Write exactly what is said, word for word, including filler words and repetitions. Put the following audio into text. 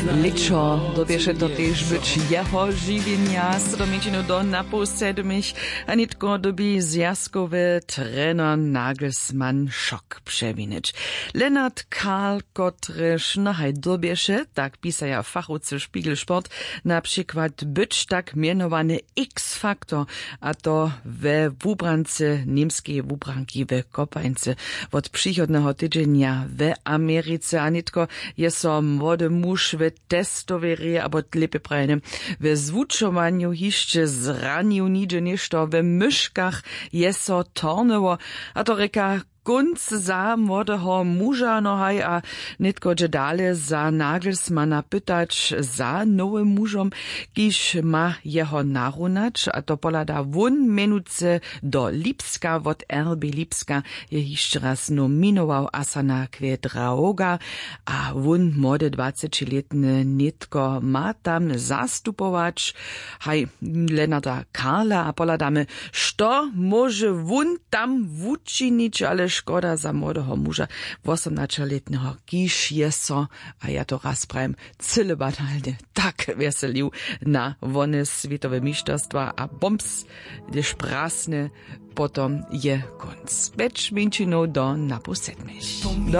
Lěćo dyrbješe to tež być jeho žiwjenja. Sydom mjeńšinu do napoł sedmich a nětko dyrbi zwjazkowy trener Nagelsmann šok přewinyć. Lennart Karl, kotryž nohaj dyrbješe, tak pisaja fachowcy Spiegelsport, na přikład być tak mjenowany X-faktor, a to we wubrance němskeje wubranki w Kopańce wot přichodneho tydźenja w Americe. A nětko je so młody muž w testowej reje, abo lěpje prajene, w zwučowanju hišće zranił. Nihdźe něšto w myškach je so tornyło, a to rěka kónc za młodeho muža. No haj, a nětko dźe dale za Nagelsmana pytać za nowym mužom, kiž ma jeho narunać, a to pohlada wón mjenujcy do Lipska. Wot R B Lipska je hišće raz nominował Asana Kwedraoga, a wón młode dwacećilětny nětko ma tam zastupować. Haj, Lennarta Karla, a pohladamy, što móže wón tam wučinić, ale škoda za młodeho muža, wosomnaćelětneho, kiž je so, a ja to raz prajim, cyle banalnje tak wjeselił na wone swětowe mišterstwa a bombs, hdyž prasne, potom je kónc. Pjeć mjeńšinow do napoł sedmich.